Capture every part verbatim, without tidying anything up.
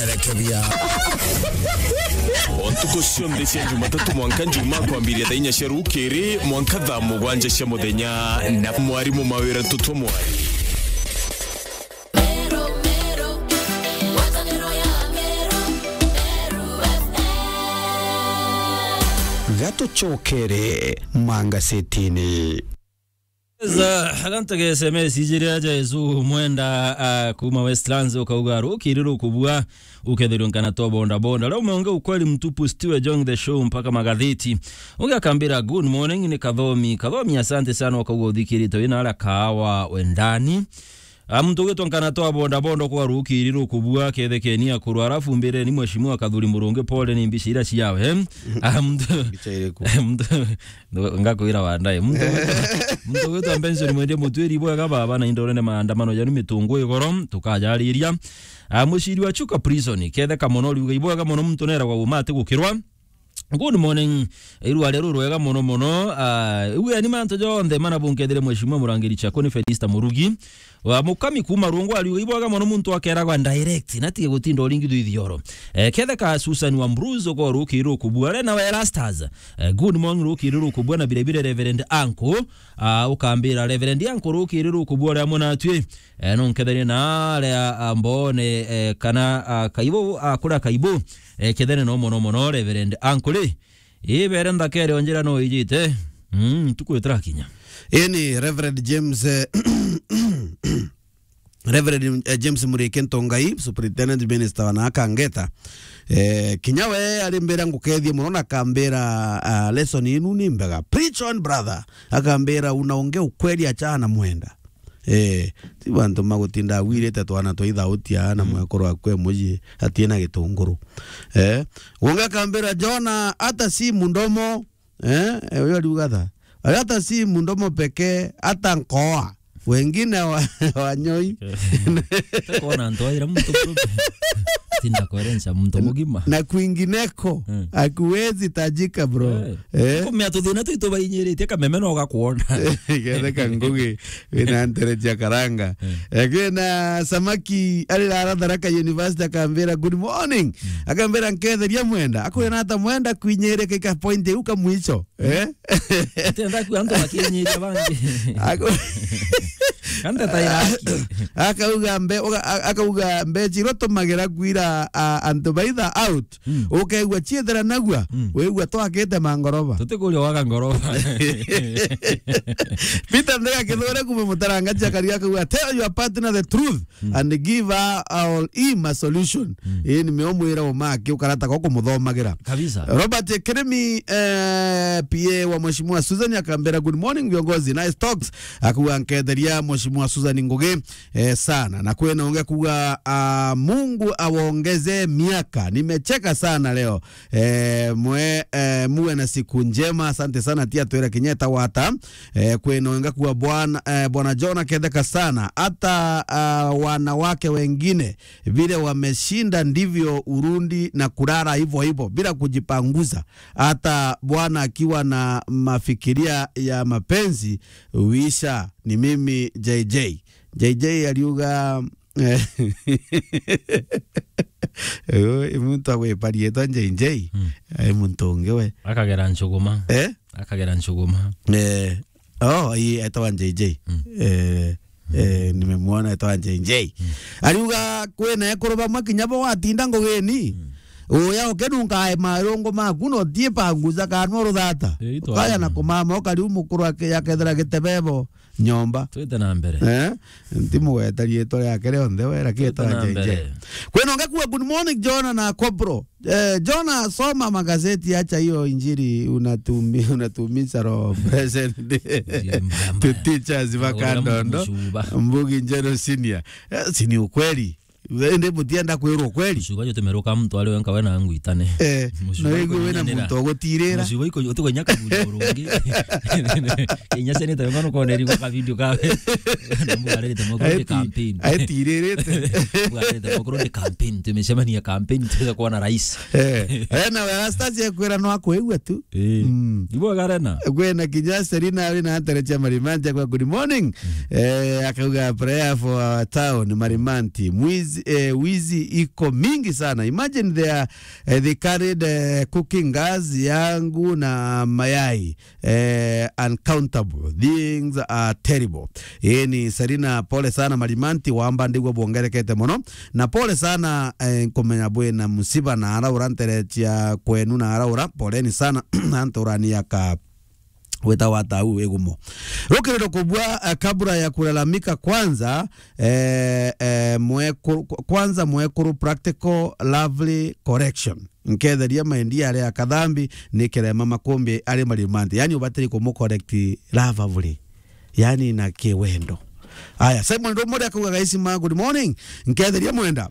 Rekeria. O ntuku cionthe cia Jumatatu mwanka Njumaa kwambiria thaa inya cia rukiri mwanka thaa mugwanja cia muthenya, na mwarimu Mawira Tutwa Mwari. Gatucokere mangasetini. Za, agantu ga S M S ijiria Jesu Mwenda, ah, kuma Westlands, ukauga, "Rukiri rukubua, ukethirwe nkana twa bonda bonda." Leo umeongea ukweli mtupu, Stewie Jong the Show mpaka magatheti. Ungi akambira, "Good morning, ni Kathomi." Kathomi, asante sana, ukauga uthikirite wina ara kahawa wendani. Ah, muntu ugitwa nkana twa bonda bonda kwa rukiri rukubua, kethekeni akuru, arafu mbireni Mheshimiwa Kathuri Murungi, pole ni mbica ira ciawe. Ah, muntu, mbica iriku? Muntu, Ndo-, ngakwira wandae. Muntu gwitwa, muntu gwitwa Benson Mwende Mutwiri, bwega baba, na indorene maandamano janu mitungu igoro, tukajariria. Ah, muciri wa Chuka Prison, ketheka mono, riuga ibwega mono, muntu neragwa uma ati gukirwa. Good morning. Irua rero rwega mono mono. Ah, uwe ni mantu jonthe mana bunkethire Mheshimiwa Murangiri Chakuni Felista Murugi. Wa Mukami kuma Rungwa ariuga, "Ibwega mono muntu akeragwa direct, na tige gutinda uringithwa ithioro." Eh, ketheka Susan wa Mbruzo ko rukiri rukubua, Rena wa Erastas. Eh, good morning, rukiri rukubua, na bire bire Reverend Anko. Ah, ukambira Reverend Anko rukiri rukubua ria mwana atwi. Eh, no nketherie na aria, ah, mbone, eh, kana, ah, kaibo, ah, kura kaibo. Eh, kethene no mono mono Reverend Anko ri. Ibere nthakere onjira no ijite. Mm, tukwitira kinya. Ii ni Reverend James, eh, Reverend, eh, James Murike Ntongai, Superintendent Minister wa na akangeta. Eh, kinya we ari mbira ngukethie mono na akambira, ah, lesson inu ni mbega. Preach on, brother. Akambira, "Unaongea ukweli, achana na Mwenda." Eh, ti bantu magutinda agwirite twana twa ithautia na mwekuru akwe muji atina gitunguru. Eh, wonge akambira, "Jona, hata si mdomo." Eh, eh, uyo ariuga tha. "Hata si mdomo pekee, hata nkoa. Wengine wa-, wanyoi." Takuona antu aira muntu mrume. Tinda kuerenca muntu mugima. "Na kwingineko, mm, hakuwezi tajika, bro." Eh. Eh? Kumea tuthina twitu bainyiritie kameme no gakuona. Getheka ngugi, wina ntere cia karanga. Mm. Eh, kwina Samaki ari rara Tharaka University akambira, "Good morning." Mm. Akambira, "Nketheria Mwenda." Akwira ata Mwenda kwinyirika ika point iu ka mwicho. Eh? Atenda ku antu bakinyiria bangi. Ako-, Kante taira haki. Akauga mbe-, uga-, a-, akauga mbechi iria tumagira kwira, a, antu baitha out. Mm. Ukaigua chiethera nagua, mm, wigua twakite mangoroba. Tutikuria waka ngoroba. Peter Ndega Kithure kuma Mutaranga, Jakaria akauga, "Tell your partner the truth." Mm. And give her or him a solution. Mm. Ii ni meo mwira umaki ukarata kwa kumuthomagira. Kabisa. Robert Kirimi, eh, P A wa Mheshimiwa Susan akambira, "Good morning, viongozi. Nice talks." Akuga, "Nketheria Mheshimiwa Susan ngugi, eh, sana." Na kwina ungi kuga, ah, "Mungu awaongeze miaka. Nimecheka sana leo." Eh, mwe, eh, muwe na siku njema. Asante sana, tia twira kinyeta wata. Eh, kwina ungi kuga, "Bwana, eh, Bwana John aketheka sana. Hata, ah, wanawake wengine vile wameshinda ndivyo urundi na kulala hivyo hivyo bila kujipanguza. Hata bwana akiwa na mafikiria ya mapenzi huisha." Ni mimi J J. J J ariuga, eh, uyu i muntu agwipa riitwa J J. Mm. Ai muntu ungi we. Akagera Nchuguma. Eh? Akagera Nchuguma. Eh. Oh, ii, etawa J J. Mm. Eh, eh, nimemwona etawa J J. Mm. Ariuga kwina ekuru bamwe kinya bo watinda ngugini. Mm. Uya ukinungae marungu maku no tie panguza kanwa ruthata. Eh, itwa. Ukaya na kumama ukariu mukuru ake-, akethira gitebebo nyomba. Twite na mbere. Eh? Ntimugweta riitwa riake rionthe we, lakini twite etawa na J J. Mbere. Kwina ungi kuga, "Good morning, Jona na Kopro." Eh, Jona, soma magazeti, acha hiyo injili unatumi-, unatumiza roho. Present day. Injili mbaya mbaya. To teachers, Ugura Vakandondo, mtu mshuba. Mbugi Njeru Senior. Eh, si ni ukweli? Indi mutienda kwirwa ukweli? Mshuba jo tumeruka mtu ari wenka we na ngwitane. Eh, mshuba no igwe wena muntu ogutirira. Mshuba iko utuko nyaka buli urungi. Inya sene tayo ngano kone rigo ka video kawe. Na mbugarete mokoro de campaign. Aitiririte. Mbugarete mokoro de campaign. Tumecemania campaign, tuweza kuona rais. Eh, eh, na we Anastasi ekwira no akwigua tu. Eh. Mm. Ibo garena. Kwina kinya Serina ari na ntere cia Marimanti akwa, "Good morning." Mm. Eh, akauga, "Prayer for our town, Marimanti. Mwizi eh, wizi iko mingi sana. Imagine they are, eh, they carried, eh, cooking gas yangu na mayai. Eh, uncountable things are terrible. Ii ni Serina, pole sana Marimanti, wamba ndigua bwongerekete mono. Na pole sana, eh, nkumenya bwina musiba na araura ntere cia kwenu na araura. Poleni sana, antu urani aka wita wa tau igumo. Rukiriro kubua, eh, kabla ya kulalamika kwanza, eh, eh, mwekuru, kwanza mwekuru practical lovely correction. Nketheria maendi aria akathambi ni kirema makumbi ari Marimanti. Yani ubatiri kumu correct lovely. Yani na kiwendo. Aya, Simon Rumuri akauga, "Guys ma, good morning. Nketheria mwenda."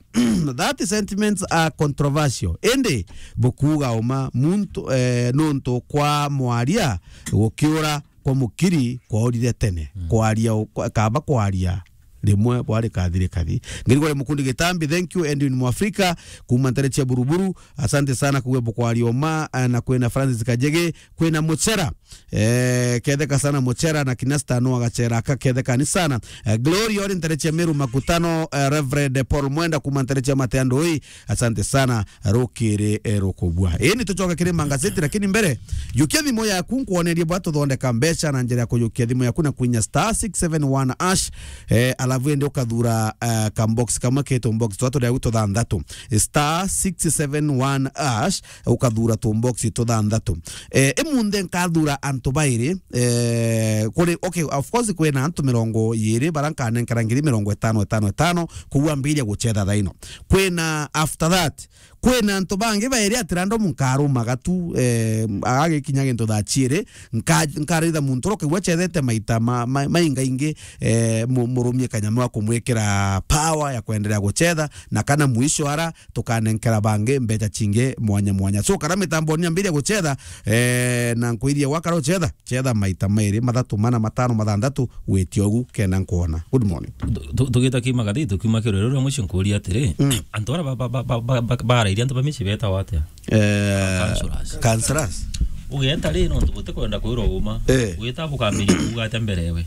That sentiments are controversial. Indi bukuuga uma muntu, eh, nuntu kwa mwaria gukiura kwa mukiri kwaurire tene. Mm. Kwaria u-, kwa-, kaba kwaria rimwe bwari kathiri kathi. Ngirigore Mukundi Gitambi, thank you. Edwin Mwafrika, kuma ntere cia Buruburu, asante sana kuwe bukwaria uma, eh, na kwina Francis Kajege, kwina Muchera. Eh, ketheka sana Muchera na Kinasta no agachera aka ketheka ni sana. Eh, Glory ori ntere cia Meru Makutano, eh, Reverend Paul Mwenda kuma ntere cia Mateandoi, asante sana. Rukiri, eh, rukubua. Ii, ni tucoka kiri mangazeti, lakini mbere, jukia thimu yaku nkwonerie bwa tuthondeka mbeca na njira ya kujukia thimu yaku na kwinya star six seven one hash, eh, alafu indi ukathura, eh, kambox kamwe ki tumbox twa turia tuthanthatu. Star six seven one hash, ukathura tumbox tuthanthatu. Eh, imunthe nkathura antu bairi, eh, kuri, okay, of course, kwina antu mirongo iiri bara nkanenkera ngiri mirongo itano, itano, itano, kuu ambiria gucetha thaino. Kwina after that, kwina antu bangi bairi ati random nkarumaga tu, eh, agagikinya gintu thaa ciiri, nka-, nkaritha muntu uria ukaigua acethete maita ma-, ma-, maingaingi, eh, mu-, murumie kanyama wa kumwikira power ya kwenderea gucetha, na kana mwisho ara tukanenkera bangi mbeca cingi mwanya mwanya. So, kana mitamboni ambiria gucetha, eh, na nkwirie gwakara ucetha, cetha maita mairi, mathatu, mana, matano, mathanthatu, witie ugu kenda nkwona. Good morning. Tu-, tu-, tugita ki magathiti, tukiuma kirore ruria mwici nkuria atiri, mm, antu ara ba-, ba-, barairie antu ba mici betagwa atia? Eh, councillors. Councillors. Ugeta ri, nontu butikwenda kwirwa uma. Eh. Gwita bukambiria kuuga atia mbere ewe?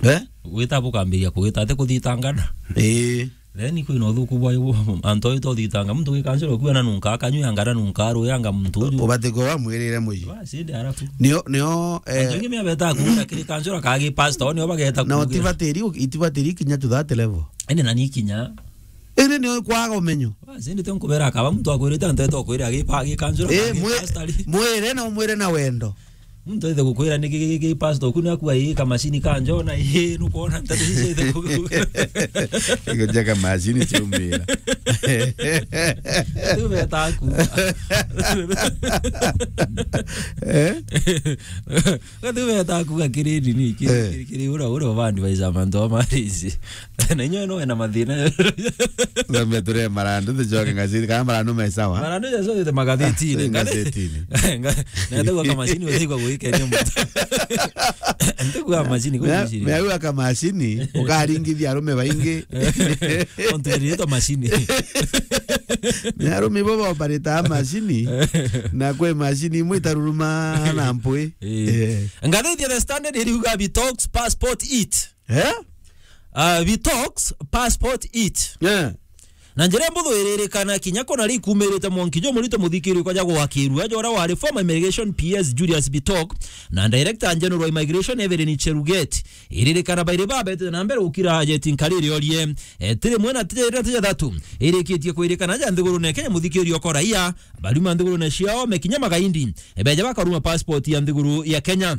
Eh? Gwita bukambiria kugita ati kuthitangana? Ii. Then kwina uthuku bwa ibu, antu aitwa uthitanga muntu wi kansura kuana nunka akanyua anga na nunka aruya anga muntu uju. Ubati kwa mwirire mwi. Basi ndi arafu. Nio, nio, eh, antu ingi mia beta kuura kiri kansura kagi pastor, nio bageta na kuuga utibatiri, itibatiri kinya to that level. Ene na ni kinya. Ene nio kwaga umenyo. Basi ndi tonkubera akaba muntu akwirite antu aitwa kwira agi pa-, agi kansura, eh, kagi mwi-, pastor ri. Mwire na umwire na wendo. Muntu aithe gukwira niki giki pastor, ku ni akua ii kamacini ka njona, ii, nukwona nteto ici aithe ku-, Ikuja kamacini ciumira. Riu beta aku. Eh? Riu beta aku ga kiri nini, kiri, eh, kiri, kiri, ura, ura, bandi baisa mantu ama risi. Na inywe no wena mathina. Ngambe ture marandu, tucoke ngazeti, kana marandu me sawa? Marandu ya sote magazetini. Ngazetini. Nga-, na ndio kwa mashini, ndio kwa kuweka ni mtu. Ndio kwa mashini, kwa mashini. Mea kwa mashini, ukaringithia arume baingi. Ontu iriitwa mashini. Ni arume bo baopareta mashini, na kwe mashini imwe itaruruma na mpwi. Eh. Eh. Ngathithia The Standard iriuga Bitox Passport It. Eh? Ah, Bitox Passport It. Eh. Na njira mbuthu iririkana kinya kona rikumirite mwanki jo murito muthikiri kwa jago wakirua jora wari former immigration P S Julius Bitok na director general wa immigration Evelyn Cheruget. Iririkana bairi babete na mbere ukira ajeti nkariri orie. E, tiri mwena tiri tiri thatu. Irikitie kwirikana ja nthiguru ne Kenya muthikiri okora iya. Baruma nthiguru ne ciao mekinya magaindi. E, beja bakaruma passport ya nthiguru ya Kenya.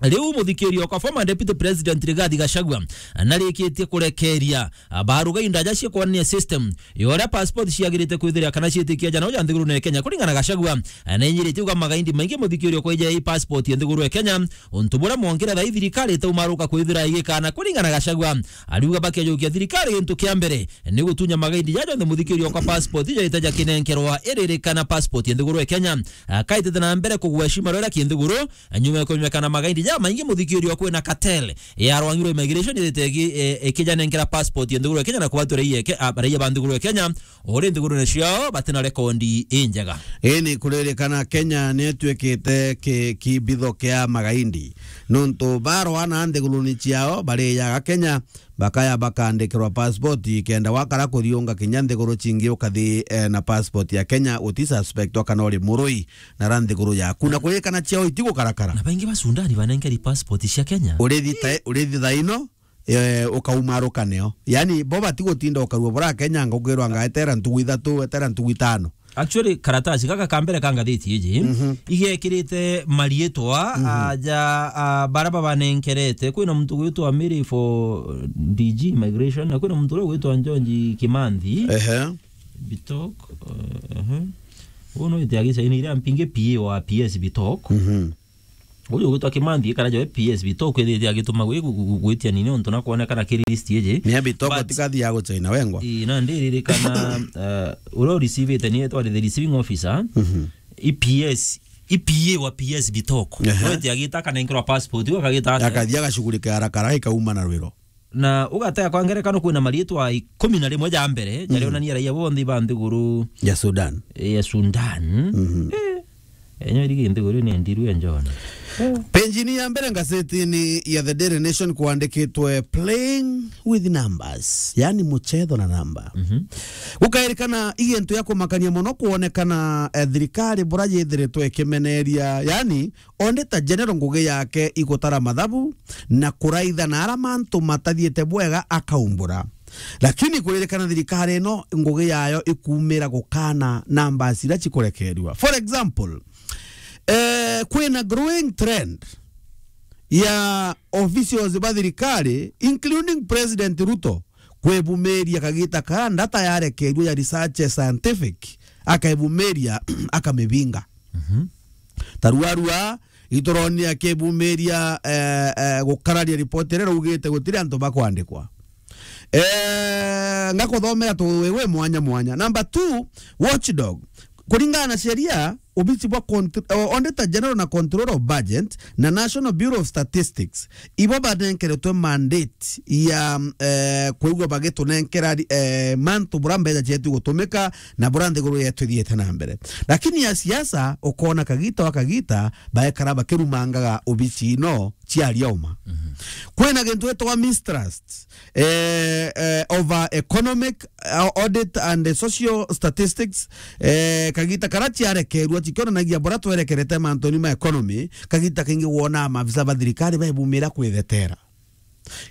Riu muthikiri okwa former deputy president Rigathi Gachagua narikitie kurekeria baruga indaja cia kwania system ya uria passport ciagirite kwithira kana ciitikia jana uja nthiguru ne Kenya. Kuringana na Gachagua, na inyirite uga magaindi maingi muthikiri okwa ija i passport ya nthiguru ya Kenya, untu buria mwongire thai thirikari itaumaruka kwithira igikana. Kuringana na Gachagua, ariuga bakejukia thirikari gintu kia mbere ni gutunya magaindi jaja jonthe muthikiri okwa passport ijaite jakinenkerwa iririkana passport ya nthiguru ya Kenya. Akaitite na mbere kugweshima rwera kinthiguru, nyuma ya kumenyekana magaindi jamaingi muthikiri okwa kwina cartel ya rwangi rwa immigration ithite iki-, e, ikijanenkera passport ya nthiguru ya Kenya na kubatwira iye ke-, a, raia ba nthiguru ya Kenya, uri nthigurune ciao batina rekondi injega. Ii ni kuririkana Kenya ni ituikite ki-, kibitho kia magaindi. Nontu barwana nthiguruni ciao barijaga Kenya, bakaya bakandikirwa passport, kenda wakara kuthiunga kinya nthiguru cingi ukathi, eh, na passport ya Kenya, uti suspectwa kana uri murui na ra nthiguru yaku. Na kuririkana ciao itigukarakara. Na baingi ba Sudani banenkeri passport cia Kenya. Urithi ta-, urithi thaino, eh, ukaumaruka nio. Yani, bo batigutinda ukarua bura Kenya, ngugirwa nga etera ntugu ithatu, etera ntugu itano. Actually, karatasi gaka ka mbere ka ngathiti iji, mhm, igekirite mariitwa, mhm, aja, a, bara babanenkerete. Kwina muntu gwitwa Mary for D G Immigration, na kwina muntu uria gwitwa Njonji Kimanthi. Ehe. Bitok, eh, ehe. Uno ite agicaina iria mpingi P A wa P S Bitok. Mhm. Uyu ugwitwa Kimanthi, ikara jawe P S Bitok, kwithithia agituma gwi-, gu-, gu-, gwitia nini untu na kwonekana kiri list iji. Ni Bitok. But tikathiaga gucaina wengwa. Ii, na ndiririkana, eh, uria urecivite ni etwa the receiving officer. Mhm. I P S, I P A wa P S Bitok. Ehe. Wete agita akanenkerwa passport, u akagita atia? Akathia agacugurika haraka haraka ikauma na rwiro. Na ugatega kwa ngerekano kwina mariitwa ikumi na rimwe ja mbere, mm, jarionania raia bonthe ba nthiguru ya Sudan. Ya Sudan. Mhm. Eh, enyo irigi nthiguru ni ndiru ya John. Eh. Penjini ya mbere ngazetini ya The Daily Nation kwandikitwe playing with numbers, yani muchetho na namba. Mhm. Gukairikana igento ya kumakania mono kwonekana, eh, thirikari bura yithiritwe ikimeneria, yani Auditor General ngugi yake igutara mathabu na kuraitha na ara mantu matathiite bwega akaumbura. Lakini kuririkana thirikari ino ngugi yayo ikumira gukana numbers iria cikurekerua. For example, eh, kwina growing trend ya officials ba thirikari, including President Ruto, kwebumiria kagita karia data yarekerua ya research scientific, akebumiria, akamibinga. Mhm. Taruarua, ituroni akebumiria, eh, eh, gukararia ripoti iria raugite gutiri antu bakwandikwa. Eh, ngakuthomera tu wewe mwanya mwanya. Number two, watchdog. Kuringana na sheria, obici bwa contr-, o-, Auditor General na Control of Budget na National Bureau of Statistics, ibo banenkeretwe mandate ya, eh, kwigua bagitunenkera, eh, mantu bura mbeca cietu gutumika na bura nthiguru yetu ithiite na mbere. Lakini ya siasa, ukona kagita wa kagita, baekara bakirumangaga obici ino cia rioma. Mhm. Kwina gintu gitagwa mistrust, eh, eh, over economic, uh, audit and social statistics, eh, kagita kara ciarekerua cikionanagia bura twerekerete mantuni ma economy, kagita kingi wona maafisa ba thirikari baibumira kwithetera.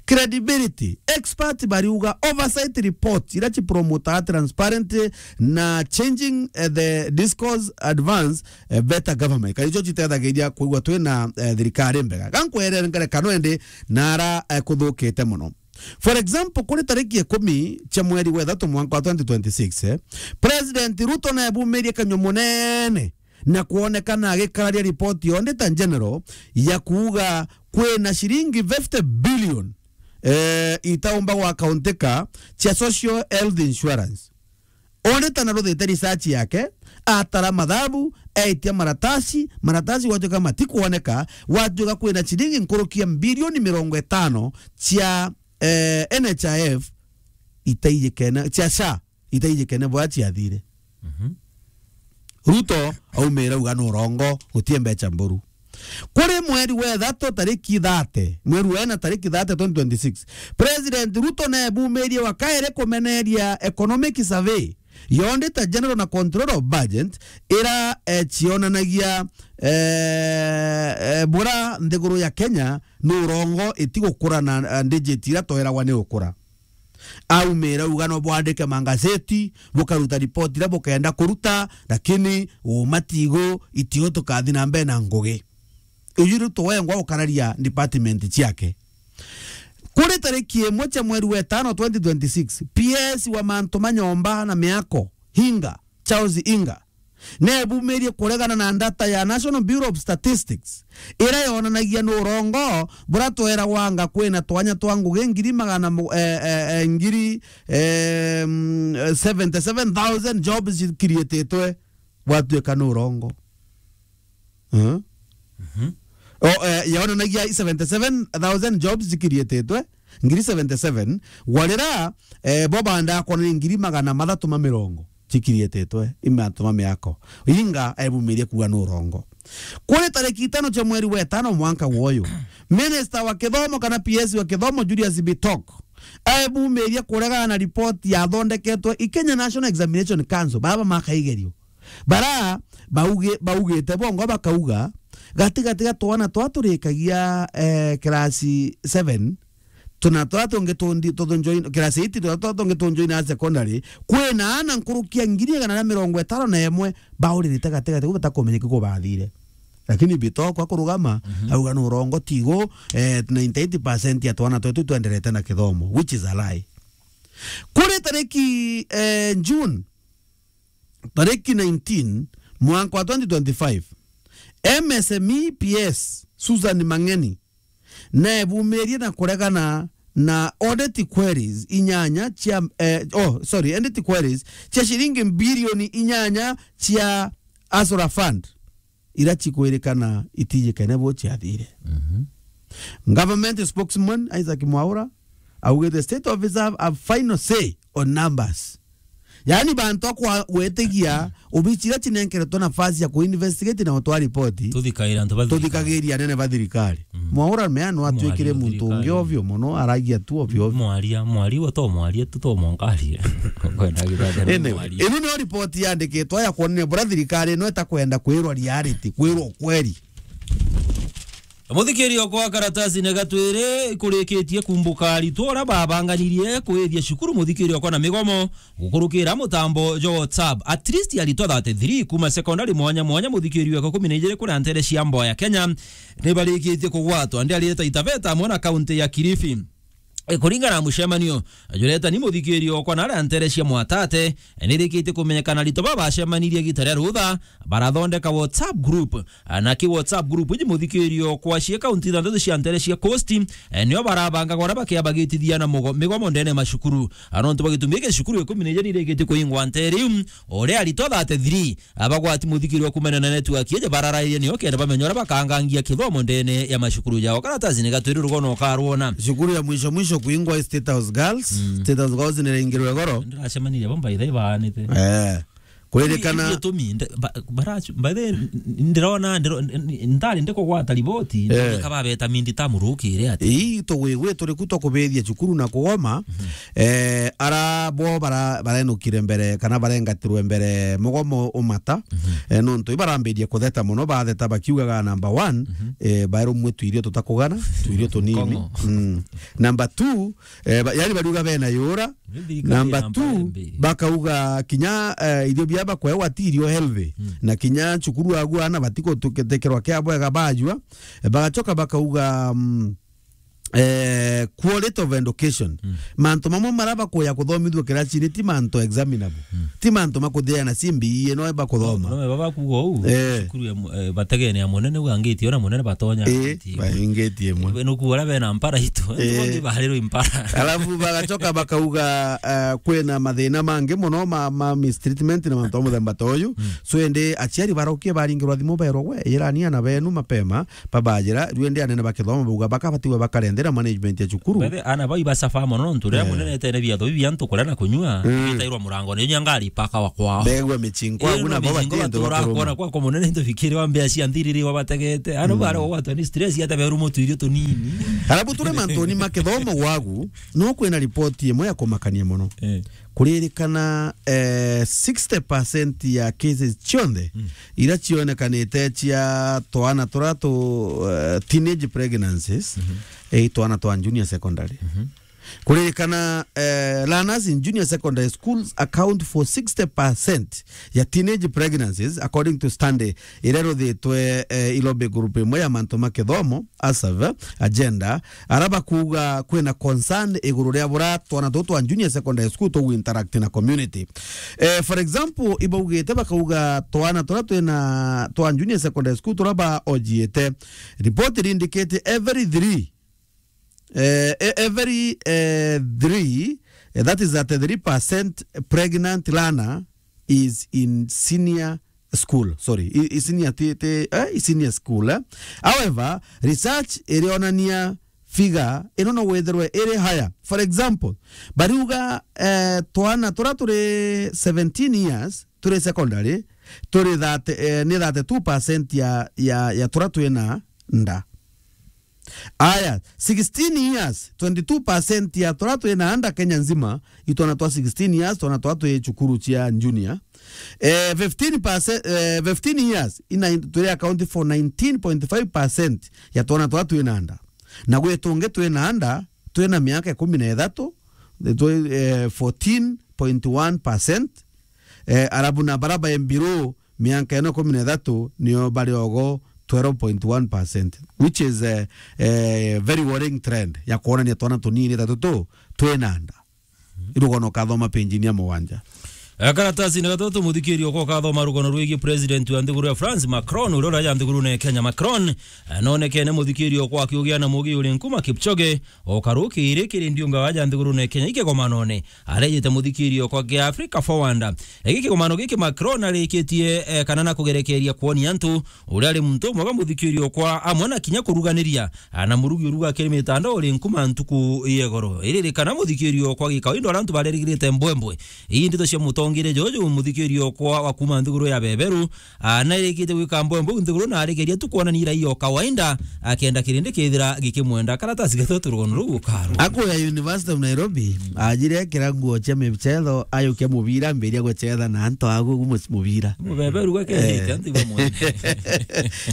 Credibility, expert bariuga oversight reports ira cipromotaga transparency na changing, eh, the discourse advance, eh, better government. Kana icio citethagiria kwigua twina, eh, thirikari mbega. Gankwere ngerekano indi nara, eh, kuthukite mono. For example, kuri tariki ikumi cia mweri wa ithatu mwanka wa twenty twenty-six, eh, President Ruto naebumirie kanyua munene na kwonekana agikararia ripoti ya Auditor General ya kuuga kwina ciringi fifty billion, eh, itaumba gwakauntika cia social health insurance. Auditor naruthite research yake, atara mathabu, aitia maratasi, maratasi gwatuika matikwoneka, gwatuika kwina ciringi nkuruki ya bilioni mirongo itano cia, eh, N H I F itaijikene, cia SHA itaijikene bwa ciathire. Mhm. Ruto aumire auga ni urongo, gutie mbeca mburu. Kuri mweri wa ithatu tariki thirty, mweri wa ina tariki thirty twenty twenty-six, President Ruto nebumirie wa kairi kumeneria economic survey ya Auditor General na Control of Budget ira, eh, cionanagia, eh, eh, bura nthiguru ya Kenya ni urongo itigukura na, eh, digit ira tweragwa ni ukura. Aumire auga no bwandike mangazeti, bukaruta ripoti iria bukenda kuruta, lakini umatigo itio tukathi na mbere na ngugi. Uyu Ruto wengwa ukararia department ciake. Kuri tariki imwe cia mweri wa itano twenty twenty-six, P S wa mantu ma nyomba na miako, Hinga, Charles Inga, nebumirie kuregana na data ya National Bureau of Statistics, ira yonanagia ni urongo bura tweragwa anga kwina twanya twa ngugi ngiri magana mu-, eh, eh, eh, ngiri, eh, mm, seventy-seven thousand jobs cikiriititwe, gwatuika ni urongo. Eh? Mhm. O, eh, yonanagia seventy-seven thousand jobs cikiriititwe, ngiri seventy-seven, gwarira, eh, bo bandaa kwona ni ngiri magana mathatu ma mirongo cikiriititwe, i mantu ma miako. Inga ebumirie kuuga ni urongo. Kuri tariki itano cia mweri wa itano mwanka gwoyu, Minister wa kithomo kana P S wa kithomo Julius Bitok Ebumiria kuregana na ripoti yathondeketwe i Kenya National Examination Council, baba makaigerio. Bara bauge-, baugite bongo bakauga, gati gati ga twana twa turikagia, eh, class seven, tuna twa tungi tundi-, tuthunjoin-, class eight, tuna twa tungi tunjoina secondary, kwina ana nkuruki ya ngiri igana na mirongo itano na imwe bauririte gati gati, ku batakumenyeka ku bathire. Lakini Bitoko akurugama, mhm, auga ni urongo tigo, eh, ninety-eight percent ya twana twetu twenderete na kithomo, which is a lie. Kuri tariki, eh, June, tariki nineteen, mwanka wa twenty twenty-five, M S M E P S Susan Mang'eni nebumirie na kuregana na audit queries inyanya cia, eh, oh, sorry, audit queries cia ciringi bilioni inyanya cia Asura Fund, ira cikwirikana itijikene bo ciathire. Mhm. Government spokesman Isaac Mwaura augite state officer have, have final say on numbers. Yaani bantu akwa gwetigia obici iria cinenkeretwe nafasi ya kuinvestigate na gutwara ripoti. Tuthikagira antu bathirikari. Tuthikagiria anene ba thirikari. Mm. Mwaura mea no atwikire muntu ungi ovyo muno, aragia tu ovyo ovyo. Mwaria, mwaria, we to mwaria tu, to mwaria. Kwenda githathero. Anyway, mwaria. Ino niyo ripoti yandikitwe ya kuonania bura thirikari ino itakwenda kwirwa reality, kwirwa ukweli. Muthikiri okwa karatasi ni gatwiri kurikitie kumbuka aritwo uria babanganirie kwithia cukuru muthikiri okwa na migomo gukurukira mutambo jwa WhatsApp. At least aritwo thirty-three kuma secondary mwanya mwanya muthikiri weka kumi na ijiri kuria ntere cia mboya Kenya ni barikitie kugwatwa ndi arireta Itaveta amwe na kaunti ya Kilifi. E, kuringana na mucemanio, jureta ni muthikiri okwa na aria ntere cia Mwatate, e, ni rikitie kumenyekana aritwo baba bacemanirie gita ria rutha, barathondeka WhatsApp group. A, na ki WhatsApp group iji muthikiri okwa cia kaunti ithanthatu cia ntere cia Coast, e, nio barabanga gora bakiabagitithia na mugo-, migomo ndene ya macukuru. A, nontu bwa gitumi giki cukuru ikumi na ijiri ni rikitie kuingwa ntere iu, uria aritwo thirty-three abagwati muthikiri wa kumena na network iji bararairie nio kenda bamenya uria bakangangia kithomo ndene ya macukuru jao. Karatasi ni gatwiri rugono ukarwona. Cukuru ya mwisho mwisho kuingwa i State House Girls. Mm. State House Girls ni ringirwe goro. Ndiracemanirie bo by the way baanite. Eh. Kuririkana. Ni gitumi, nde-, ba-, baracu-, by the way, n-, n-, ndirona, ndiro-, n-, n-, ndari ndikugwata riboti, eh, ndika babeta mindi ta murukire ati. Ii, tugwigwi turi ku twa kubithia cukuru na kugoma. Mhm. Eh, ara bo bara-, barenukire mbere, kana barengatirwe mbere mugomo umata. Mhm. Eh, nontu ibarambirie kutheta muno, batheta bakiugaga number one, mhm, eh, bairumwe tuirio tutakugana, tuirio tunini. Nkongo. Mm. Number two, eh, ba-, yani bariuga bena yura. Ni thirikari. Number ya two, mpara mbi. Bakauga kinya, eh, irio bia bakwewa ti irio healthy. Mm. Na kinya cukuru agu ana batikutekerwa kia bwega bajua. Eh, bagacoka bakauga, mm, eh, quality of education. Mm. Mantu mamwe mara bakuya kuthomithua kiracini ti mantu examinable. Mm. Ti mantu makuthiana C B E no bakuthoma. No, no, baba kuga uu, eh, cukuru ya mu-, eh, bategene ya munene uga ngitie ona munene batonya. Eh, ngitie imwe. Baingitie imwe. Eh, nukuga uria bena mpara itu, eh, eh, ntubangi baharirwe impara. Alafu bagacoka bakauga, eh, kwina mathina mangi muno ma, ma mistreatment na mantu ma muthemba ta uyu. Mm. So indi aciari barokie baringirwa thimu berwa, we, irani ana benu mapema, babajira, riu indi anene ba kithomo bauga bakabatiwe bakarendera management ya cukuru. Bethe ana bau ibasaba mono, nontu riria, eh, munene etene biatho bibi antu kuria na kunyua, mm, bitairwa murango, ni nyangari paka wa kwao. Begwa michinko, eh, agu no nabo michinko batiende batura bakuruma. Kwona kwako munene into bikiri wa mbea cia nthiriri wa bategete. Ano, mm, bara gwatwa ni stress, ata beru mutu irio tunini. Alafu ture mantuni ma kithomo gwagu, no kwina ripoti imwe ya kumakania mono. Eh. Kuririkana, eh, sixty percent ya cases cionthe, mm, iria cionekanite cia twana turia tu, eh, teenage pregnancies, mhm, eh, twana twa junior secondary. Mhm. Kuririkana, eh, learners in junior secondary schools account for sixty percent ya teenage pregnancies, according to study iria ruthitwe, eh, i lobby group imwe ya mantu ma kithomo, ASAV agenda, ara bakuga kwina concern iguru ria bura twana tutu twa junior secondary school tugu interact na community. Eh, for example, ibaugite bakauga twana turia twina twa junior secondary school turia baojiite, report indicate every three, eh, e-, every, eh, three, eh, that is thirty-three percent pregnant learner is in senior school, sorry, i, i senior ti, ti, eh, i senior school, eh. However, research irionania figure ino no withirwe iri higher. For example, bariuga, eh, twana turia turi seventeen years turi secondary, turi thirty, eh, ni thirty-two percent ya, ya, ya turia twina nda. Aya, sixteen years, twenty-two percent ya twaria twina nda Kenya nzima, itwana twa sixteen years, twana twa twi cukuru cia junior. Eh, fifteen percent, eh, fifteen years, ina, turi account for nineteen point five percent ya twana twa twina nda. Na gwi tungi twina nda, twina miaka ikumi na ithatu, twi, eh, fourteen point one percent, eh, arabu na bara bai below miaka ino ikumi na ithatu nio bari ogo twelve point one percent, which is, eh, eh, very worrying trend ya kwonania twana tunini ta tutu twina nda. Irugono kathoma page-ini ya mugwanja. Eh, karatasi ni gatatu, muthikirio kwa kathoma rugono rwigi president wa nthiguru ya France, Macron, uria uraja nthigurune ya Kenya. Macron, eh, nonekene muthikirio kwa akiugia na mugi uri nkuma Kipchoge, o karukiri kiri ndiunga waja nthigurune ya Kenya ikegomanone. Arejete muthikirio kwa kia Africa Forward. Egi kigomano giki Macron arikitie, eh, kana na kugerekeria kuonia antu uria ari muntu mwega muthikirio kwa amwe na kinya kuruganiria, ah, na murugi uruga kiri mitandao uri nkuma ntuku yegoro. Iririkana muthikirio kwa gikawaida uria antu barerigirite mbwembwe. Ii ndeto cia mutongire juju muthikirio kwa wa kuma nthiguru ya beberu, ah, na irikite gwika mbwembwe nthiguru na arigeria tu kuonania raia o kawaida, akenda kirindi kethira gikimwenda. Karatasi gatatu rugono ruu ukaro. Akuya University of Nairobi, ajire ekira nguo cia michetho, ayukia mubira, ambiria guchetha na antu agu mu-, mubira. Mubeberu gwe kethite, eh, antu ibo mwene.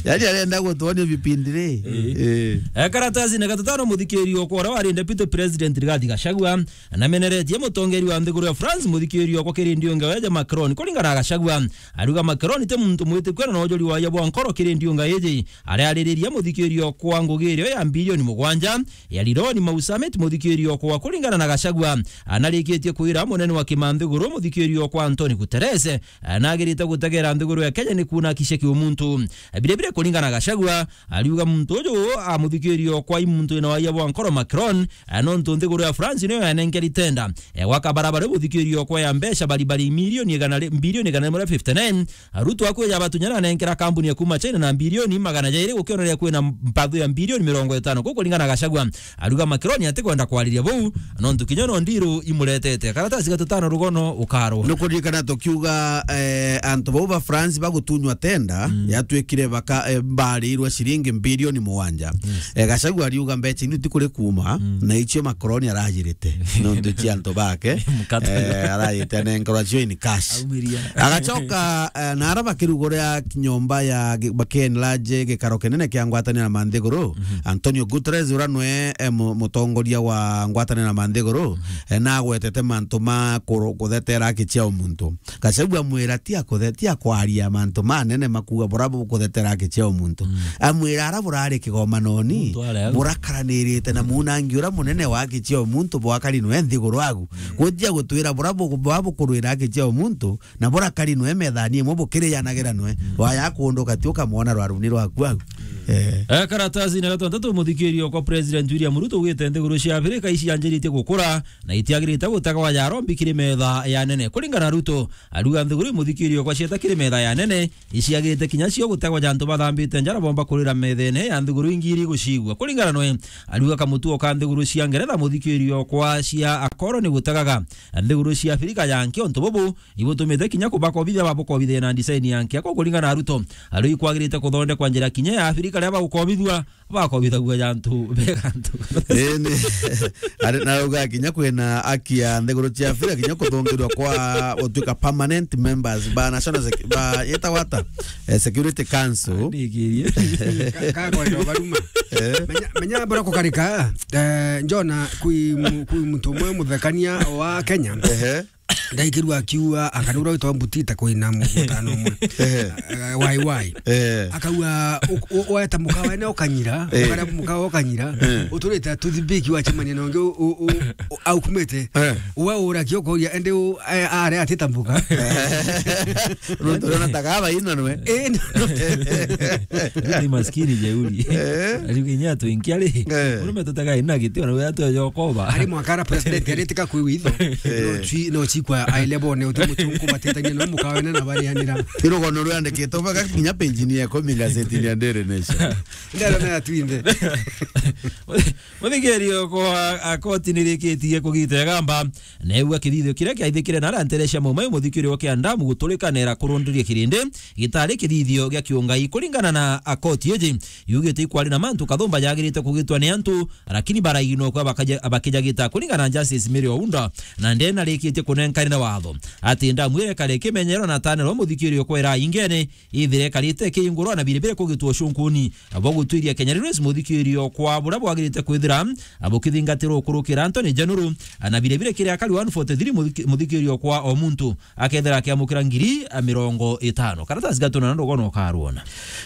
Yaani arenda gutuonia vipindi ri. Eh. Eh. Eh, karatasi na gatatano, muthikirio kwa uria wari Deputy President Rigathi Gachagua, na meneretie mutongeri wa nthiguru ya France, muthikirio kwa kirindi unge weja Macron. Kuringana na Gachagua, ariuga Macron ti muntu mwitikio na nojori waia bwa nkoro kirindi unga iji. Ariaririria muthikirio kwa ngugi irio ya bilioni mugwanja ya Lironi Mau Summit, muthikirio kwa kuringana na Gachagua, anarikitie kwira munene wa kimanthiguru muthikirio kwa Antonio Guterres, anagirite gutegera nthiguru ya Kenya ni kuna kishe kiumuntu. Bire bire kuringana na Gachagua, ariuga muntu uju amuthikirio kwa i muntu wina waia bwa nkoro Macron, nontu nthiguru ya France niyo yanenkeri tenda, eh, gwaka barabara buthikirio kwa ya mbeca baribari milioni igana ri-, bilioni igana rimwe ria fifty nine, Ruto akwija batunyana anenkera kambuni ya kuma China na bilioni magana jairi gukioneria kwina mpathu ya bilioni mirongo itano. Kuu kuringana na Gachagua, ariuga Macron atikwenda kwariria buu, nontu kinya no ndiru imuretete. Karatasi gatutano rugono ukaro. Nukuririkana tukiuga, eh, antu bau ba France bagutunywa tenda, mm, yatwikire baka, eh, barirwe ciringi bilioni mugwanja. Yes. Eh, Gachagua ariuga mbeca inu tikuri kuma, mm, na icio Macron arajirite. Nontu cia antu bake, mkate, eh, arajite anenkerwa cio in cash. Aumiria. Agacoka, eh, na ara bakiruguria nyomba ya gi-, ba-, Ken Large, gikaro kinene kia ngwataniro na manthiguru, mhm, Antonio Guterres, uria nwe, eh, mu-, mutongoria wa ngwataniro na manthiguru, mhm, eh, nagwetete mantu ma kuru-, kuthetera haki cia umuntu. Gachagua amwira ti akuthe-, ti akwaria mantu manene makuga bura bukuthetera haki cia umuntu. Mm. Amwira ara burari kigomanoni, burakaranirite na munangi uria munene wa haki cia umuntu bwakari nwe nthiguru agu. Mm. Gutia gutwira bura bu-, bwa bukurwira haki cia umuntu, na burakari nwe methani imwe bukiriyanagira nwe. Mm. Waya kundu gati ukamwona rwaruni rwaku agu. Mm. Eh. Eh, karatasi na gatantatu, muthikirio kwa President William Ruto ugite nthiguru cia Afrika icianjiritie gukura na itiagirite gutegwa yarombi kiri metha ya nene. Kuringana na Ruto, ariuga nthiguru imuthikirio kwa cieta kiri metha ya nene, iciagirite kinya cio gutegwa ja antu bathambite njara bomba kurira methene ya nthiguru ingi iri gucigua. Kuringana nwe, ariuga kamutuo ka nthiguru cia Ngeretha muthikirio kwa cia akoro ni gutegaga nthiguru cia Afrika ya nki. Untu bubu ibutumite kinya kubakobithia babukobithia na design ya nki. Akwa kuringana na Ruto, ariu ikwagirite kuthondekwa njira kinya ya Afrika ria bagukobithua, bakobithagua ja antu bega antu. Ii ni, ari, na rauga kinya kwina aki ya nthiguru cia Afrika kinya kuthungirwa kwa gutuika permanent members ba National Sec-, ba, yetagwa ata? Eh, Security Council. Ndigirie. Ka-, kakwenda baruma. Eh. Menya, menya bora kukarika, eh, njona kwi mu-, kwi muntu umwe muthekania wa Kenya. Ehe. Ndaikirua akiuga, akana uria witagwa Mbutita kwina mutano umwe. Ehe. Eh, wai wai. Eh. Akauga, u-, u-, weta mukawa ene ukanyira, eh, ukara mukawa ukanyira, eh, uturite tuthibiki wachemania na ungi u-, u-, u-, u-, aukumite. Eh. Uwe ura kio kuria, ende u-, eh, are atita mbuka. Nontu urona ta gaba ino nwe. Eh, no. Ni maskini jeuri. Eh. Ariuga inya twinkia ri. Eh. Urume tutaga ina gitio na wira tu yokoba. Ari mwaka ara president aritika kwi witho. Eh. No chi, no chi Kwa aile bone uti muchunku batitania no mukawene na barianira. Irugono rwandikitwe baka kinya page-ini ya ikumi ngazetini ya Daily Nation. Ndero na ya twinthe. Muthikirio kwa, a, koti nirikitie kugita igamba, neegua kithithio kiria kiaithikire na aria ntere cia Mau Mau, muthikirio kia Ndamu guturika neera kurundiria kirindi, gitari kithithio gia kiungai. Kuringana na, a, koti iji, yugite ikwari na mantu kathumba jagirite kugitwa ni antu, lakini baraigina kwa bakaja-, bakijagita. Kuringana na Justice Mary Ounda, na ndena rikitie kunenkana na watho ati Ndamu iria ikari ikimenyerwa na tanero muthikirio kwa ira ingene, ithire ikarite ikihingurwa na biribiri kugitwa ucunkuni bwa gutwiria Kenya Railways muthikirio kwa buria bwagirite kwithira bukithingatirwa ukurukira Anthony Januru, na biribiri kiri akari one forty-three muthiki-, muthikirio kwa o muntu akethira akiamukira ngiri mirongo itano. Karatasi gatuna na ndugono ukarwona.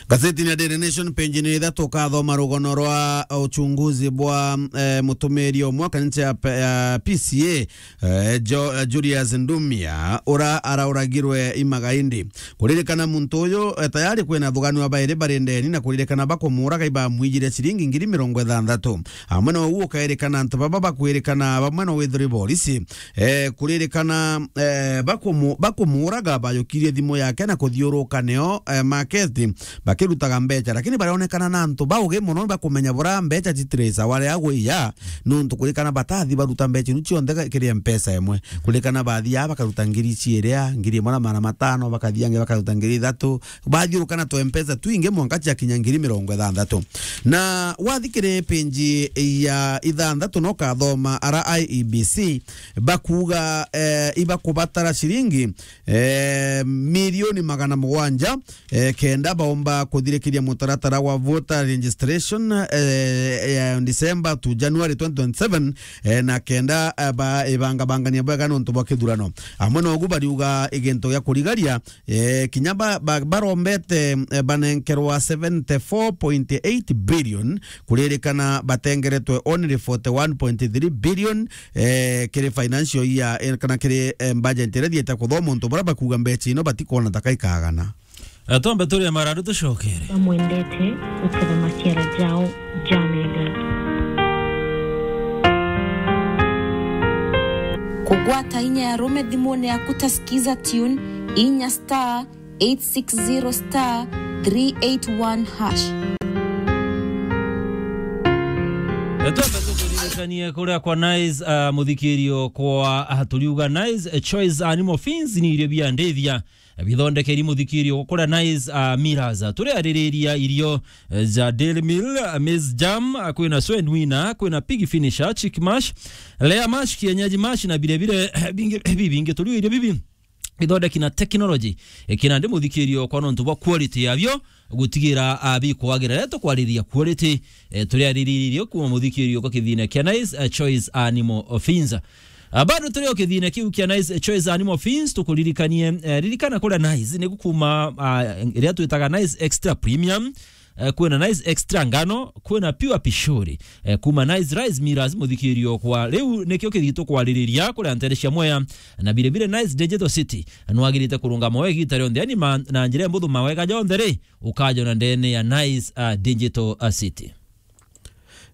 Gazetini ya Daily Nation, page-ini ya ithatu, ukathoma rugono rwa uchunguzi bwa, eh, mutumiri umwe wa kanisa ya P-, ya P C A, eh, Jo-, eh, Julius Ndumia, ura arauragirwe imagaindi. Kuririkana muntu uyu, eh, tayari kwina thugani wa bairi bari ndeni, na kuririkana bakumuuraga ibamwijire ciringi ngiri mirongo ithanthatu. Amwe na uu ukairikana antu baba bakwirikana bamwe na withiri borisi, eh, kuririkana, eh, bakumu-, bakumuuraga bayukirie thimu yake na kuthiuruka nio, eh, market bakirutaga mbeca, lakini barionekana na antu baugi mono bakumenya bura mbeca citiri sawa ria gwiya, nontu kuririkana batathi baruta mbeca inu cionthe ga-, kiri mpesa imwe. Kuririkana bathia bakaruta ngiri ciiria, ngiri imwe na magana matano, bakathia angi bakaruta ngiri ithatu, bathiuruka na tu mpesa twingi mwanka ciakinya ngiri mirongo ithanthatu. Na wathi kiri page ya ithanthatu no kathoma ara I E B C bakuuga, eh, ibakubatara ciringi, eh, milioni magana mugwanja, eh, kenda baumba kuthirikiria mutaratara wa voter registration, eh, eh, December to January twenty twenty-seven, eh, na kenda, eh, ba-, ibangabangania bwega nontu bwa kithurano. Amwe nogu bariuga igintu gia kurigaria, eh, kinya ba-, ba-, barombete, eh, banenkerwa seventy-four point eight billion, kuririkana batengeretwe only forty-one point three billion, eh, kiri financial year, eh, kana kiri, eh, budget iria thiete kuthoma, untu buria bakuuga mbeca ino batikwona ta kaikagana. Eh, twambe turie marandu tucokere. Bamwendete guketha maciara jao jamega. Kugwata inya ya rume thimune yaku ta Skiza Tune, inya star eight six zero star three eight one hash. Eh, twambe tukuririkanie kuria kwa Nice, ah, muthikirio kwa, ah, turiuga Nice, eh, Choice Animal Feeds ni irio bia ndithia. Bithondekeri muthikirio kuria Nice, ah, Miras. Turiaririria irio, eh, ja dairy meal, ah, maize germ, ah, kwina swine wiener, kwina pig finisher, chick mash, layer mash, kienyeji mash na birebire, eh, bingi, bibingi. Turiuga irio bibi bithondeki na technology, eh, kina ndi muthikirio kwa nontu bwa quality yabio, gutigira, ah, bikwagira. Riria tukwariria quality, eh, turiaririria irio kuma muthikirio kwa kithina kia Nice, eh, Choice Animal Feeds. Ah, bado turi o kithina kiu kia Nice Choice Animal Feeds, tukuririkanie, eh, ririkana kuria Nice ni gukuma, ah, iria twitaga Nice Extra Premium, eh, kwina Nice Extra Ngano, kwina Pure Pishori, eh, kuma Nice Rice Millers muthikirio kwa. Riu nikio kithii tukwaririria kuria ntere cia Mwea, na biribire Nice Digital City nwagirite kurungama we igita rionthe, yani ma-, na njira mbuthu mawega jonthe ri, ukajona ndene ya Nice, ah, Digital, ah, City.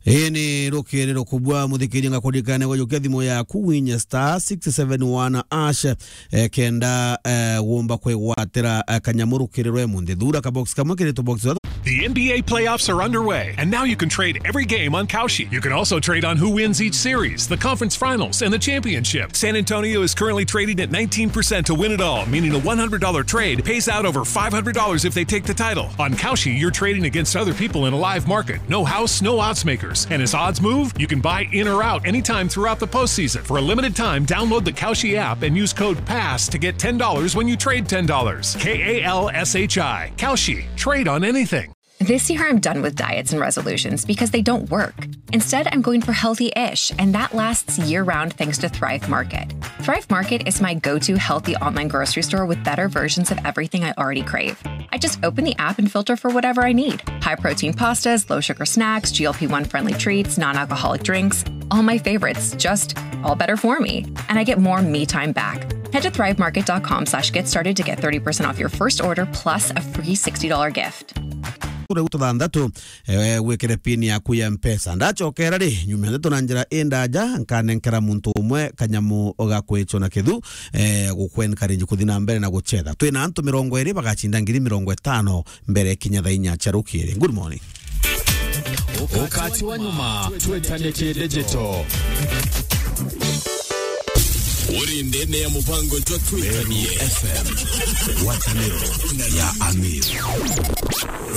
Ii ni rukiri rukubwa, muthikiria, ngakuririkania gujukia thimu yaku, winya star six seven one hash, eh, kenda, eh, wumba kwigwatira, eh, kanyamu rukiri rwe munthi. Thura kabox kamwe kiri tubox. The N B A playoffs are underway, and now you can trade every game on Kalshi. You can also trade on who wins each series, the conference finals, and the championship. San Antonio is currently trading at nineteen percent to win it all, meaning a one hundred dollar trade pays out over five hundred dollars if they take the title. On Kalshi, you're trading against other people in a live market. No house, no odds makers. And as odds move, you can buy in or out anytime throughout the postseason. For a limited time, download the Kalshi app and use code pass to get ten dollars when you trade ten dollars. K A L S H I. Kalshi. Trade on anything. This year, I'm done with diets and resolutions because they don't work. Instead, I'm going for healthy-ish, and that lasts year-round thanks to Thrive Market. Thrive Market is my go-to healthy online grocery store with better versions of everything I already crave. I just open the app and filter for whatever I need. High-protein pastas, low-sugar snacks, G L P one friendly treats, non-alcoholic drinks, all my favorites, just all better for me. And I get more me time back. Head to thrive market dot com slash get started to get thirty percent off your first order plus a free sixty dollar gift. Kura gutu thanthatu, eh, gwikire pin yaku ya Mpesa. Ndachokera ri, nyuma ya ndeto na njira indaja, nkanenkera muntu umwe kanyamu ga kwichwa na kithu, eh, gukwencourage kuthi na mbere na guchetha. Twina antu mirongo iri bagachinda ngiri mirongo itano mbere kinya thaa inya cia rukiri. Good morning. Ukati wa nyuma, twetanie kidigital. Uri ndene ya mubango jwa Twitanie F M. Ngwataniro ya Amir.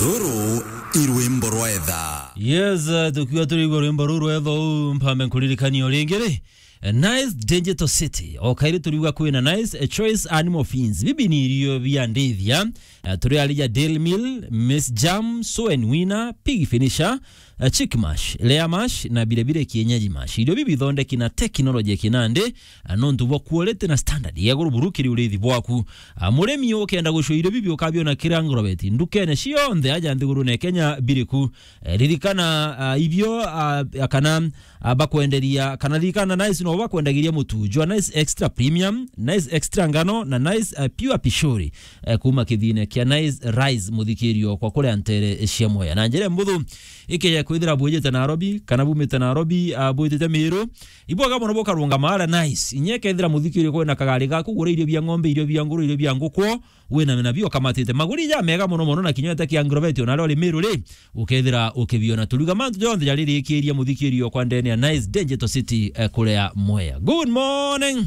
Ruru i rwimbo rwa etha. Yes, uh, tukiwa turiigua rwimbo ruru rwa etha uu, mpambe nkuririkanie o ringi ri, eh, Nice Digital City. O kairi turiuga kwina Nice, eh, Choice Animal Feeds. Bibi ni irio bia ndithia. Eh, turi arija Dairy Meal, Maize Germ, Soen Winner, Pig Finisher, eh, Chick Mash, Layer Mash na vile vile Kienyeji Mash. Irio bibi bithondeki na technology ya kinandi, eh, nontu bwa quality na standard ya iguru buru kiri urithi bwaku. Ah, murimi ukenda gucua irio bibi ukabiona kiri Agrovet ndukene cionthe aja nthigurune Kenya biriku. Eh, ririkana, ah, ibio, ah, kana, ah, bakwenderia, kana ririkana Nice no bakwendagiria mutu jwa Nice Extra Premium, Nice Extra Ngano na Nice, ah, Pure Pishori, eh, kuuma kithine kia Nice Rice, muthikirio kwa kuria ntere cia Mwea. Na njira mbuthu, ikeja kwithira bwijite Nairobi, kana bumite Nairobi, ah, bwijite Meru, ibwega mono bukarungama aria Nice. Inya ikethira muthikirio kwina kagari gaku, gura irio bia ng'ombe, irio bia nguru, irio bia nguku, wina nabio ukamatite. Maguri ja mega mono mono na kinya wete kia Agrovet, ona aria uri Meru ri, ukethira ukibiona. Turiuga mantu jonthe jaririkiria muthikirio kwa ndene ya Nice Digital City, eh, kuria Mwea. Good morning.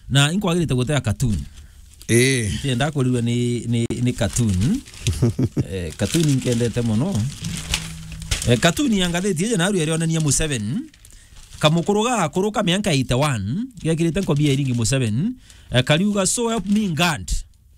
Na inkwagirite gutea cartoon. Eh. Ntienda kurirwa ni, ni, ni cartoon. Eh, cartoon nkendete mono. Eh, cartoon ya ngathiti iji naru irionania Museveni. Kamukuru gakuru ka mianka eighty-one, gekirite nkobia iringi Museveni, eh, kariuga, "So help me God."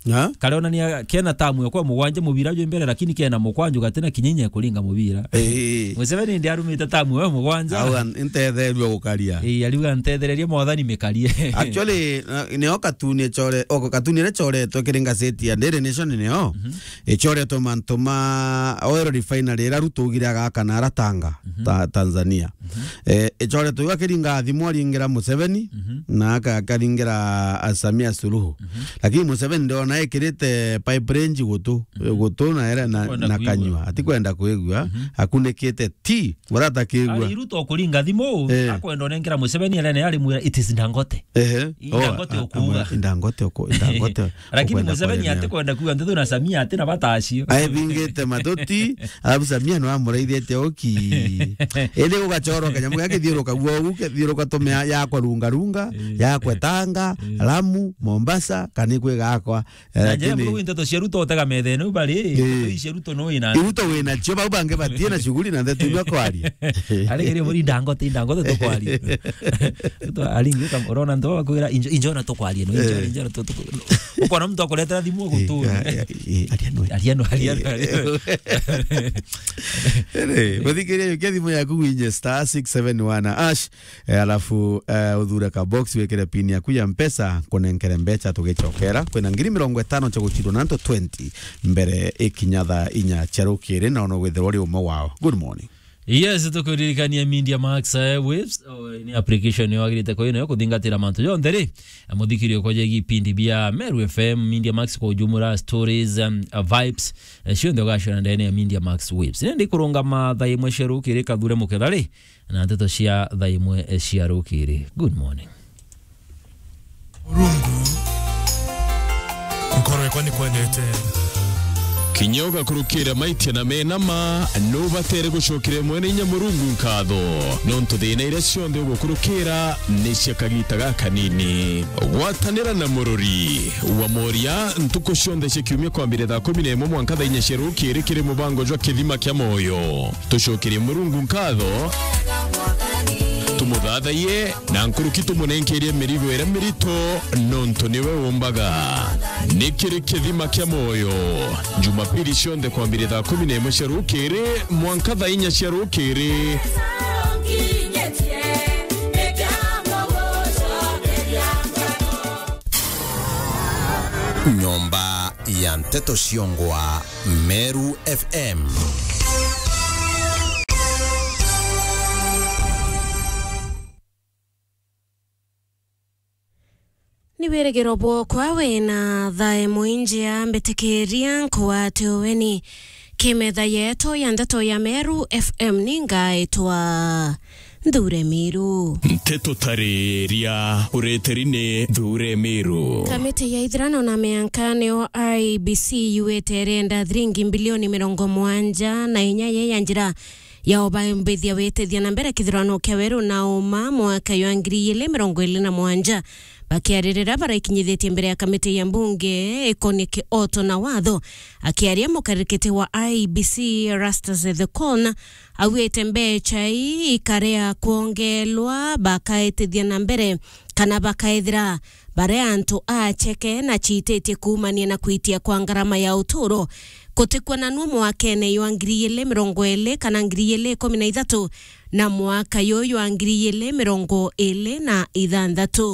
Na? Karionania kena tamu ya kwa mugwanja mubira jwi mbere, lakini kena mukwanju gatina kinya inya ya kuringa mubira. Eh. Museveni ndi arumite tamu ya mugwanja. Au an-, ntetherua gukaria. Eh, ariuga, "Ntethereria mwathani mikarie." Actually, na, nio katuni ichore-, oko katuni iria ichoretwe kiri ngazeti ya Daily Nation nio. Mhm. Ichoretwe mantu ma oil refinery iria Ruto augire agaka na ara Tanga, mhm, Ta-, Tanzania. Mhm. Eh, ichoretwe iu akiringa thimu aringira Museveni, mhm, na aka-, akaringira, ah, Samia Suluhu. Mhm. Lakini Museveni ndiona ekirite pipe range gutu, mhm, gutu na ere na, kwenda na kuigua. Kanyua. Atikwenda kwigua, mhm, akunikite ti, urata kigua. Ari Ruto kuringa thimu, eh, akwenda onenkera Museveni, arene ari mwira, "It is Dangote." Ehe. Indangote ukuuga. Indangote uku-, Indangote. Lakini ukwenda Museveni kwaria ati nayo. Kwenda kuuga nteto na Samia ati na bata acio. Aebingite matuti, alafu Samia no amuraithite oki. Indi ugachorwa kanyamu gakithiuruka guo ugu, kithiuruka tume ya-, yakwa runga runga, eh, yakwa Tanga, eh, Lamu, Mombasa, kana ikwi gakwa. Eh, na njira lakini buru nteto cia Ruto utega metha ino bari, eh, nteto ici cia Ruto no ina. Ruto wina cio, bau bangi batie na shughuli na ndeto imwe kwaria. Ari kiri muri Indangote, Indangote tukwaria. Ruto aringi uka-, urona nto bakwira injo, injo na tukwaria, no, injo, eh, injo na tu-, tu-, ukona muntu akuretera thimu gutu. Eh, ya, ya, eh, aria no. Aria no, aria no, aria no. Eh. Ere, muthikiria yukia thimu yaku winye star six seven one hash. Eh, alafu, eh, uthure ka box, wikire pin yaku ya Mpesa, kunenkere mbecha tugicokera. Kwina ngiri mirongo itano cia guchindwa na antu twenty mbere ikinya thaa inya cia rukiri, na ono withirwa uri umwe wao. Good morning. Yes, tukuririkania Media Max, eh, Waves, oh, ni application yo agirite kwa ino yo kuthingatira mantu jonthe ri, eh, muthikirio kwa jegi pindi bia Meru F M, Media Max kwa ujumla, stories, um, uh, vibes, eh, cionthe ugacona ndene ya Media Max Waves. Nindi kurungama thaa imwe cia rukiri kathure mukethari, na nteto cia thaa imwe cia rukiri. Good morning. Murungu, nkoro yakwa ni kwendete. Kinya ugakurukira maitia na mena ma, nubatere gucokeria mwene inya Murungu nkatho, nontu thina iria cionthe ugukurukira ni cia kagita gakanini. Gwatanira na murori wa moria ntuku cionthe cia kiumia kwambire thaa kumi na imwe mwanka thaa inya cia rukiri kiri mubango jwa Kithima kia Moyo. Tucokerie Murungu nkatho, tumuthathaiye, na nkuruki tumunenkerie mirigo iria mirito, nontu niwe umbaga. Ni kiri Kithima kia Moyo, Jumapili cionthe kwambire thaa kumi na imwe cia rukiri mwanka thaa inya cia rukiri. Nyomba ya nteto ciongwa Meru F M. Ni wirigiro bwokwa wina thae mwinjia mbitikiria nkwate uweni. Kimetha yetu ya ndeto ya Meru F M ni ngaitwa Nthure Miru. Nteto tariria ureteri ni Nthure Miru. Kamiti ya ithurano na mianka niyo I E B C yuite irenda thiringi mbilioni mirongo mwanja na inya ye ya njira ya ubambithia witithia na mbere kithurano kia weru na uma mwaka jwa ngiri igiri mirongo iri na mwanja. Bakiaririra baraikinyithitie mbere ya kamiti ya mbunge ikonie kioto na watho, akiaria mukarikiti wa I E B C Erastus Ethekon augite mbecha ii ikarea kwongelwa bakaitithia na mbere kana bakaethira baria antu acheke na ciititie kuumania na kwitia kwa ngarama ya uturo kutikuonanua mwakene jwa ngiri igiri mirongo iri kana ngiri igiri ikumi na ithatu na mwaka juju jwa ngiri igiri mirongo iri na ithanthatu.